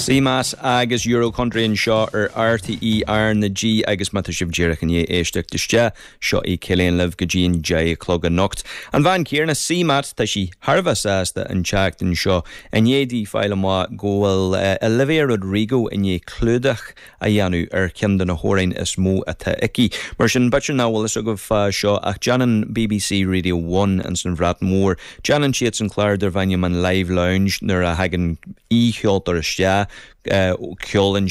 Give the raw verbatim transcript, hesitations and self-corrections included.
CMAT agus Euro Country anseo ar RTÉ R na G agus má tá sibh díreach i ndiaidh éisteacht isteach seo í Cillian libh go dtí an deich a chlog anocht. An bhean chéanna CMAT tá sí thar a bheith sásta an tseachtain seo i ndiaidh di fáil amach go bhfuil Olivia Rodrigo i ndiaidh clúdach a dhéanamh ar cheann de na hamhráin is mó atá aici. Mar sin b'fhéidir nach bhfuil fhios agaibh fá seo ach déanann BBC Radio One in san Bhreatain Mhór. Déanann siad an clár darb ainm an Live Lounge nuair a thagann aoicheoltóir isteach ceolann